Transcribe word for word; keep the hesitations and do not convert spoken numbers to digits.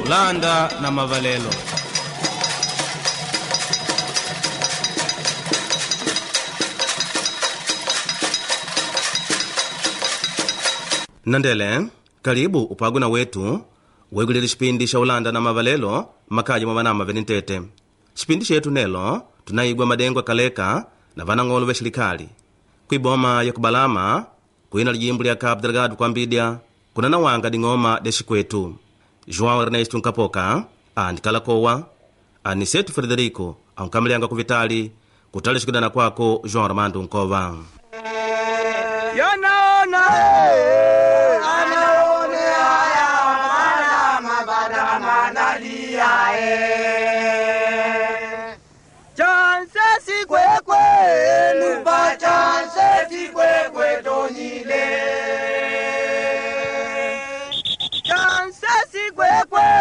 Ulanda na Mavalelo. Nandele, karibu upagwe na wetu wegulile xipindi xa Ulanda na Mavalelo makaji mwa vanama vene ntete. Xipindi xetu nelo tunaigwa madengo akaleka na vanang'olo va xilikali kwiboma ya kubalama kwina lijimbo lya Cabo Delgado kwambidya kuna nawanga ding'oma dya xikwetu. João Ernesto Nkapoka andikala kowa, Aniseto Frederico ankamalianga kuvitali kutali xikudana kwako João Armando Nkova. Yanaona anaone haya mana mabada manalia eh Chanse sikwekwe nupa chanse sikwekwe tonyile.